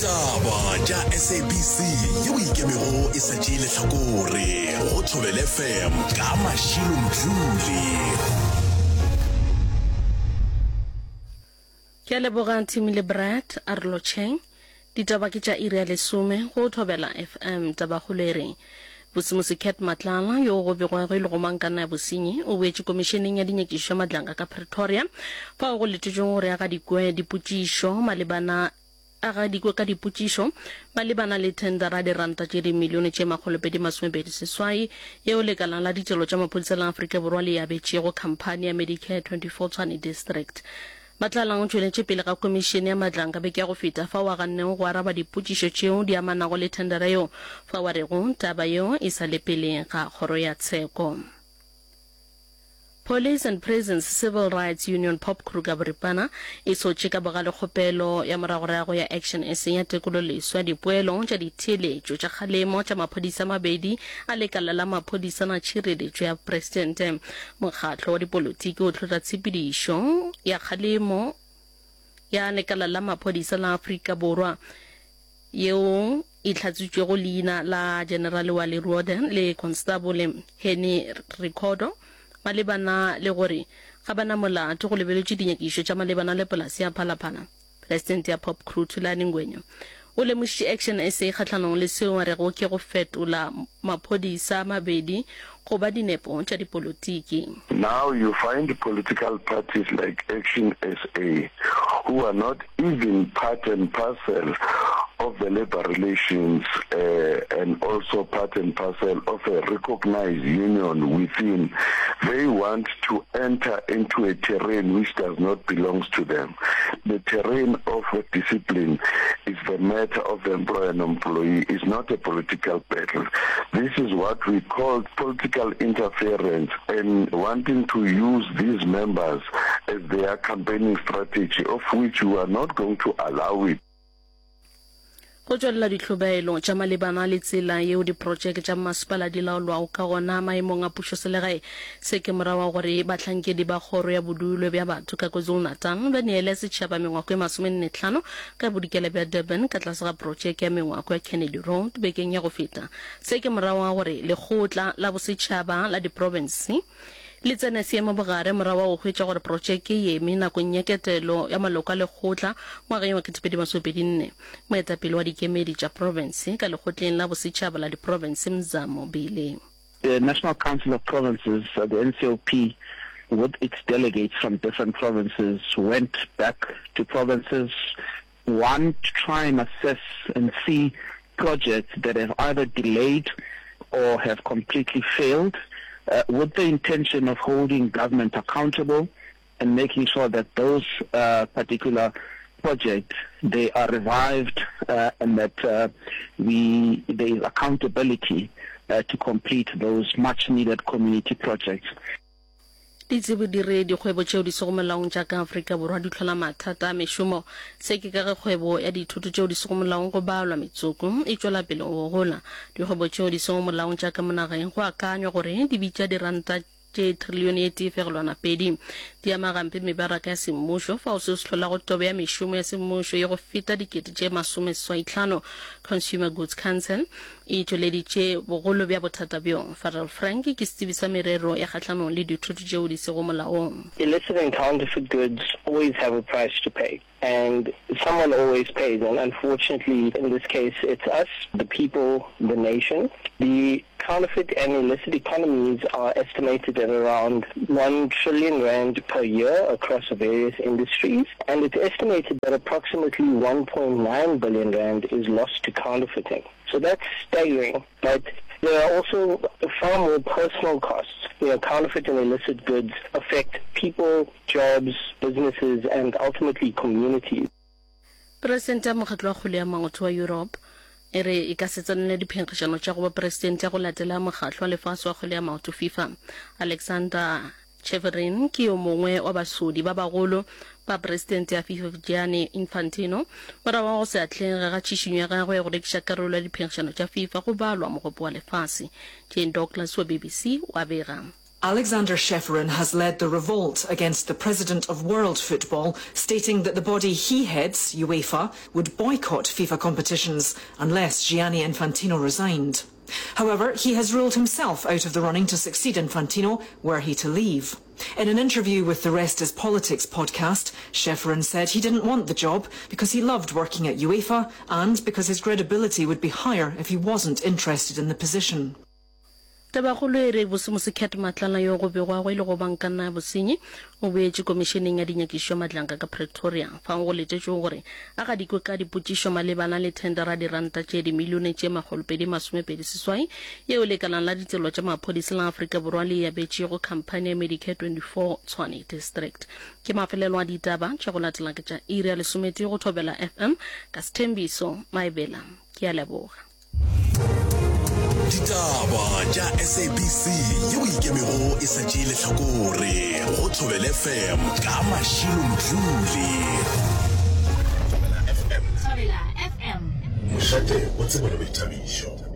Ditaba tša SABC yeo e ikemego e sa tšee lehlakore go Thobela FM ka Mashilo Mdluli. Ke a leboga Timmy le Brad, a re lotšheng. Ditaba ke tša iri ya lesome go Thobela FM. Tabakgolo e re Bosimusi Cat Matlala, yo go begwago e le gomangkanna ya bosenyi, o boetše Komišeneng ya Dinyakišišo ya Madlanga ka Pretoria, fao go letetšwego gore a gadikwe dipotšišo malebana a gadikwe ka dipotšišo malebana le thendara ya diranta tše dimilione tše 228 yeo lekala la ditirelo tša maphodisa la Afrika Borwa le e abetšego khamphani ya Medicare 24 Tshwane District. Matlalang o tšweletše pele ga Komišene ya Madlanga beke ya go feta fao a gannego go araba dipotšišo tšeo di amanago le thendera yeo fao a rego taba yeo e sa le pele ga kgoro ya tsheko. Police and Prisons Civil Rights Union POPCRU ka boripana e sotše ka bogale kgopelo ya moragorago ya Action SA ya tekololeswa ya dipoelo tša ditheeletšo tša kgalemo tša maphodisa a mabedi a lekala la maphodisa la tšhireletšo ya Presidente. Mokgatlo wa dipolotiki o hlotla tshepedišo ya kgalemo ya lekala la maphodisa la Afrika Borwa yeo e hlatswitšwego leina la Generale wa Leruode le Konstabole Henny Rikhotto malebana le gore ga ba na molato go lebeletšwe dinyakišišo tša malebana le polase ya Phalaphala. Presidente ya Popcru Thulani Ngwenya o lemošitše Action SA kgahlanong le seo a rego ke go fetola maphodisa a mabedi go ba dinepo tša dipolotiki. Now you find political parties like Action SA who are not even part and parcel of the labour relations and also part and parcel of a recognised union within, they want to enter into a terrain which does not belongs to them. The terrain of discipline is the matter of the employer and employee, is not a political battle. This is what we call political interference and wanting to use these members as their campaigning strategy, of which we are not going to allow it. Go tšwelela dihlobaelo tša malebana le tsela yeo diprotšeke tša mmasepala di laolwago ka gona maemong a pušoselegae. Se ke morago ga gore bahlankedi ba Kgoro ya Bodulo bja Batho ka KwaZulu-Natal ba neele setšhaba mengwako e masomennetlhano ka bodikela bja Durban ka tlase ga protšeke ya mengwako ya Kennedy Road bekeng ya go feta. Se ke morago ga gore Lekgotla la Bosetšhaba la Diprofense Le tsene seemo bogare morago ga go hwetša gore protšeke e eme nakong ya ketelo ya maloko a lekgotla ngwageng wa 2024. Moetapele wa dikemedi tša profense ka Lekgotleng la Bosetšhaba la Diprofense Mzamo Bele. The National Council of Provinces, the NCOP, with its delegates from different provinces went back to provinces, one to try and assess and see projects that have either delayed or have completely failed uh, with the intention of holding government accountable and making sure that those uh, particular projects they are revived uh, and that uh, we there is accountability uh, to complete those much needed community projects. Ditsebi di re dikgwebo tšeo di sego molaong tša ka Afrika Borwa di hlola mathata a mešomo. Se ke ka ge kgwebo ya dithoto tšeo di sego molaong go balwa metsoko e tšwela pele go gola. Dikgwebo tšeo di sego molaong tša ka mo nageng go akanywa gore di bitša diranta tše trilione e tee fegelwana pedi. Di ama gampe mebaraka ya semmušo, fao seo se hlolago tobo ya mešomo ya semmušo ye go feta dikete tše masomeseswaitlhano. Consumer Goods Council e tšweleditše bogolo bja bothata bjo. Farrell Frank ke setsebi sa merero ya kgahlanong le dithoto tšeo di sego molaong. Illicit and counterfeit goods always have a price to pay and someone always pays and unfortunately in this case it's us, the people, the nation. The counterfeit and illicit economies are estimated at around 1 trillion rand per year across various industries and it's estimated that approximately 1.9 billion rand is lost to counterfeiting. So that's staggering, but there are also far more personal costs. You know, counterfeit and illicit goods affect people, jobs, businesses and ultimately communities. Presidente ya Mokgatlo wa Kgwele ya Maoto wa Europe e re e ka se tsenele diphenkgišano tša go ba presidente ya go latela Mokgatlo wa Lefase wa Kgwele ya Maoto, FIFA. Alexander Čeferin ke yo mongwe wa basodi ba bagolo ba presidente ya FIFA Gianni Infantino morago ga go se atlege ga tšhišinyo ya gagwe ya go rekiša karolo ya diphenkgišano tša FIFA go balwa Mogopo wa Lefase. Jane Douglas wa BBC o a bega. Alexander Čeferin has led the revolt against the president of world football, stating that the body he heads, UEFA, would boycott FIFA competitions unless Gianni Infantino resigned. However, he has ruled himself out of the running to succeed Infantino were he to leave. In an interview with the Rest is Politics podcast, Čeferin said he didn't want the job because he loved working at UEFA and because his credibility would be higher if he wasn't interested in the position. Tabakgolo e re Bosemose Cat Matlala yo go begwago e le go bankanna ya bosenyi o boetše komišeneng ya dinyakišišo ya Madlanka ka Pretoria fao go letetšwego gore a gadikwe ka dipotšišo malebana le thendera ya diranta tše dimilione tše 228 yeo lekalang la ditselo tša maphodisa la Afrika Borwa le e abetšego khamphani ya Medicare 24 Tshwane District. Ke mafelelo a ditaba tša go latela ke tša iri ya lesometee go Thobela FM ka Sthembiso Maebela. Ke a leboga. Ditaba tša SABC yeo ikemego e sa tšee lehlakore go Thobela FM ka Mashilo Mdluli. Thobela FM. Thobela FM. Mošate wa tsebo le boithabišo.